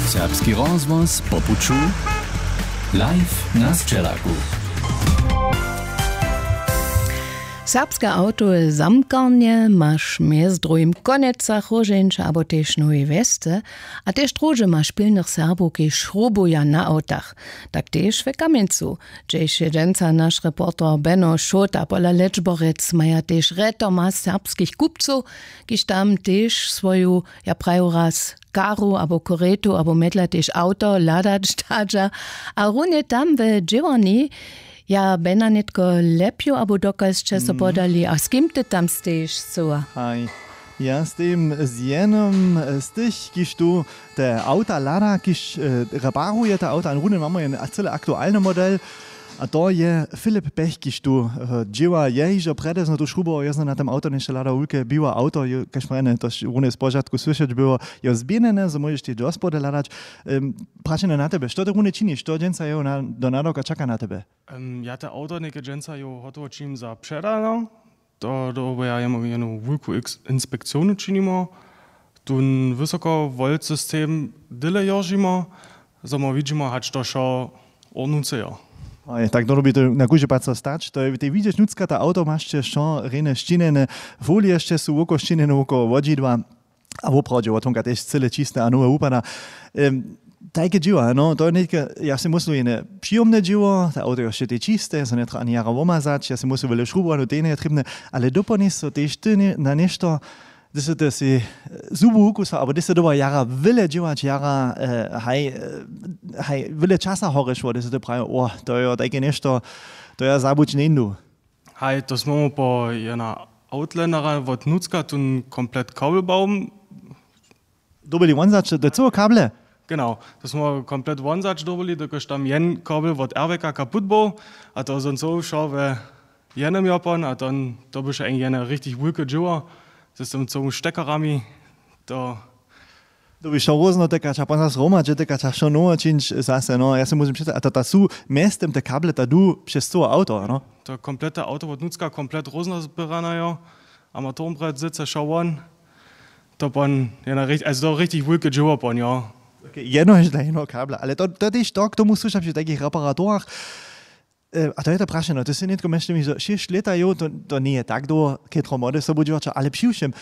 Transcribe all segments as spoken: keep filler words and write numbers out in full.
Serbski rozhłos po puću. Live na sćelaku. Serbske awtowe zamkarnje maš mjez druhim w Konecach, Róžeńće abo tež Nowej Wjesce, a tež druhdźe maš pilnych Serbow, kiž šrubuja na awtach. Tak tež w Kamjencu, hdźež je dźensa naš reporter Beno Šołta. Pola Lečborec maja tež rjetoma serbskich kupcow, kiž tam tež swoju, ja praju raz, karu abo koretu abo mjedla tež awto hladać dadźa. A runje tam we dźěłarni, ja, Bena, nětko lepju abo dokal sće so podali a z kim ty tam stejiš cyła? Haj, ja stejim z jenym z tych, kiž tu te awta hlada, kiž reparuje te awta. A runje mamy jen cyle aktualny model. A to je Filip Pech, kiž tu dźěła. Je hižo prjedewzno tu šrubował, je zno na tym awto něšto hladał, wulke biłe awto, kaž prjene to runje z požadku słyšeć było, jo zběhnjene, zo móžeš tež do spody hladać. Prašenje na tebe, što ty runje činiš, što dźensa jeho do nadawka čaka na tebe? Ja te awto něke dźensa jeho hotowo činim za předano. To dobo ja jemu jenu wulku inspekcionu činimo, tón wysokowoltsystem dyle joržimo, zo my widźimo hač to wšo ornuce jo. Aj tak to dobi to na kóždy pad so stać, to je tej widźeć nutřka ta awto maš će wšo rjenje šćinjene, folije sće su wokoło šćinjene wokoło wodźidła. A woprawdźe wotomka tež cyle čiste a nowe wupada. Tajke dźěła, no to je nětke, ja sej myslu, jene přijomne dźěło, te awto je wšetej čiste, so njetrja ani jara womazać, ja sej myslu, wjele šrubowanu, to je njetrěbne. Ale dopołdnje so tež ty na něšto, hdy sy ty sej zubu wukusał abo hdy sy doba jara wjele dźěłać, jara haj, haj wjele časa horješło, hdy sy ty prajił, o, to je tajke něšto, to ja zabuć njeńdu. Haj, to smy mu po jena outlandera wot nutřka tón komplet kabelbaum. Dobyli wonzaće do cyłe kable? Genau, to smy komplet wonzaće dobyli, dokelž tam jen kabel wot airbaga kaput był, a to zón so wšo we jenym jopon, a to by wšo jen jene richtig wulke dźěło z tym cyłym štekarami. To dobi wšo rózno tykać a pon zas hromadźe tykać a wšo nowe čińć zase, no ja se móžem předstajić, a to ta su mjeztym te kable ta du přez cyłe awto, no. To komplete awto wot nutřka komplet rózno zběrane jo. A motorbrett syce wšo won. To pon je na richtig wulke dźěło pon jo. Jedno je dla jednoho kabla, ale to to tež to k tomu słyšam při takich reparaturach. A to je to prašeno, ty sy nětko mjez tym hižo šěsć lěta jow, to njeje tak dołho, chětro młode sobudźěłaća, ale přiwšěm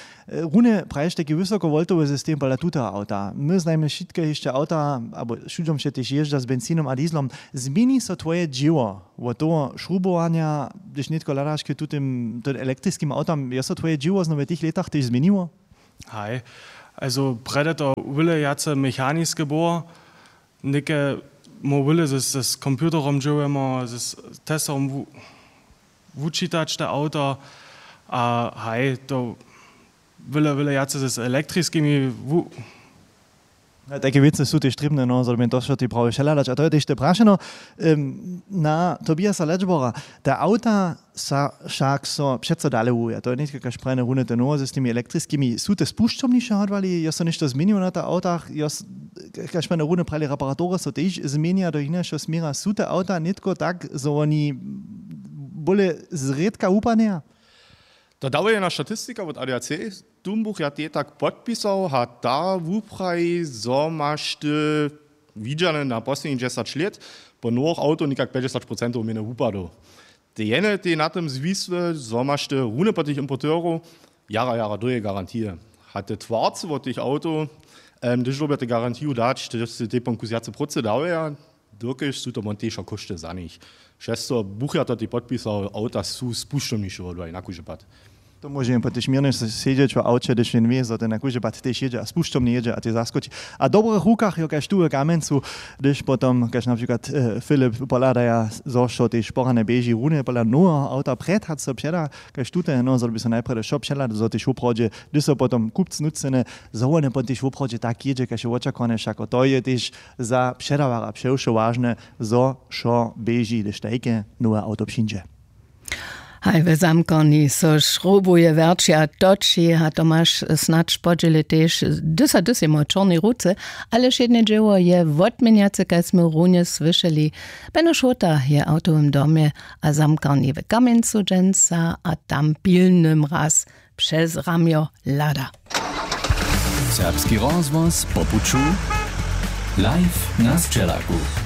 runje praješ tajki wysokowoltowy system pola tuteho awta. My znajmy wšitke hišće awta abo wšudźom wše tež jězdźa z benzinom a dieslom. Změni so twoje dźěło wot toho šrubowanja, hdyž nětko hladaš k tutym tym elektriskim awtam, je so twoje dźěło znowu w tych lětach tež změniło? Haj, also prjedy to wjele wjace mechaniske było. Něke móhł wjele z computerom dźěłujemo z testorom wučitać te awto. A haj to wjele wjele wjace z elektriskimi. Tajke wěcy su tež trěbne, no zo dyrbi to wšo tej prawje wšehladać a to je tež te prašeno. Na Tobiasa Ledgebora, te awta sa wšak so přeco dale wuja, to je nětko kaž prajene runje te nowoze z tymi elektriskimi, su te spušćomniše hodłali, jo so něšto změniło na tych awtach? Kaž prajene runje prajili, reparatury so tež změnja do hinašeho směra, su te awta nětko tak zo woni bóle zrědka wupadnjeja? To dawuje jedna statistika wot A D A C, tón buch ja tej tak podpisał a ta wupraji zo maš ty widźane na poslednich dźesać lět po nowych awtow někak pjećdźesać procentow mjene wupadow. Te jene tej na tym zwisły zo maš ty runje po tych importerow jara jara dołhe garantije. A te twarce wot tych awtow, hdyž dyrbja te garantiju dać, hdyž sy tej pon kus wjace prócy dałeja, dokelž su to won tež wšo kóšty za nich. Přez to buch ja to tej podpisał, awta su spušćomniše wodłali na kóždy pad. To móže jen po tež měrnje sedźeć w awće, hdyž jen wě zo ten na kóždy pad tež jědźe a spušćomnje jědźe a tej zaskoči. A w dobrych rukach jo kaž tu w Kamjencu, hdyž potom kaž na přikład Filip pohladaja zo wšo tež porane běži runje pola noweho awta prjed hač so předa kaž tute, no zo dyrbi so najprjedy wšo přehladało zo tež woprawdźe hdyž so potom kupc nutřcene, zo wone pon tež woprawdźe tak jědźe kaž je wočakowane. Wšako to je tež za předawarja přewšo wažne, zo wšo běži hdyž tajke nowe awto přińdźe. Haj, w zamkarni so šrubuje, wjerći a toči a tomaš snadź podźěli tež, hdyž a hdyž jemu w čornej ruce. Ale wšědne dźěło je wotměnjace, kaž smy runje słyšeli. Beno Šołta je w awtowym domje a zamkarni w Kamjencu dźensa a tam pilny mraz přez ramjo hlada. Serbski rozhłos po puću. Live na sćelaku.